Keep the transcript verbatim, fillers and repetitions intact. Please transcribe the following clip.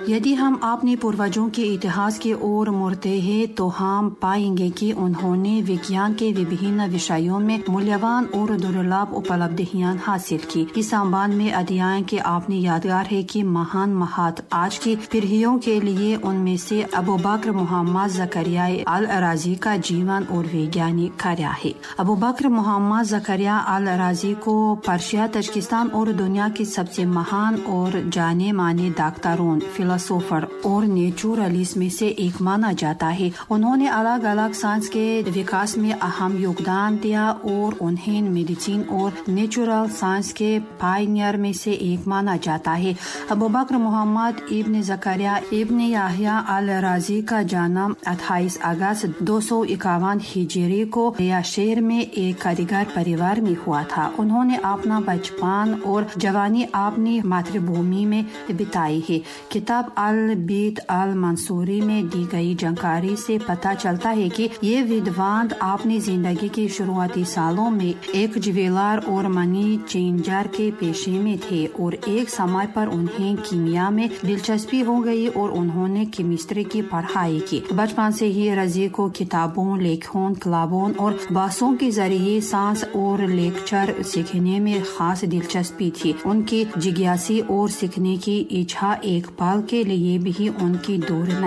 यदि हम अपने पूर्वजों के इतिहास की ओर मुड़ते हैं तो हम पाएंगे कि उन्होंने विज्ञान के विभिन्न विषयों में मूल्यवान और दुर्लभ उपलब्धियां हासिल की। इस संबंध में अध्ययन के अपनी यादगार है कि महान महत्व आज की पीढ़ियों के लिए उनमें से अबू बकर मोहम्मद ज़करिया अल राजी का जीवन और वैज्ञानिक कार्य है। अबू बकर मोहम्मद ज़करिया अल राजी को पर्शिया, तजकिस्तान और दुनिया के सबसे महान और जाने माने डॉक्टरों, फिलोसोफर और नेचुरलिस्ट में से एक माना जाता है। उन्होंने अलग अलग साइंस के विकास में अहम योगदान दिया और उन्हें मेडिसिन और नेचुरल साइंस के पायनियर में से एक माना जाता है। अबू बकर मोहम्मद इब्न ज़करिया इब्न याह्या अल राजी का जन्म अट्ठाईस अगस्त दो सौ इक्यावन हिजरी को रिया शहर में एक कारीगर परिवार में हुआ था। उन्होंने अपना बचपन और जवानी अपनी मातृभूमि में बिताई है। किताब अल बीत अल मंसूरी में दी गई जानकारी से पता चलता है कि ये विद्वान अपनी जिंदगी के शुरुआती सालों में एक ज्वेलर और मनी चेंजर के पेशे में थे और एक समय पर उन्हें कीमिया में दिलचस्पी हो गई और उन्होंने केमिस्ट्री की पढ़ाई की। बचपन से ही रजी को किताबों, लेखों, क्लबों और बहसों के जरिए सांस और लेक्चर सीखने में खास दिलचस्पी थी। उनकी जिज्ञासी और सीखने की इच्छा एक पल के लिए भी उनकी दूर नहीं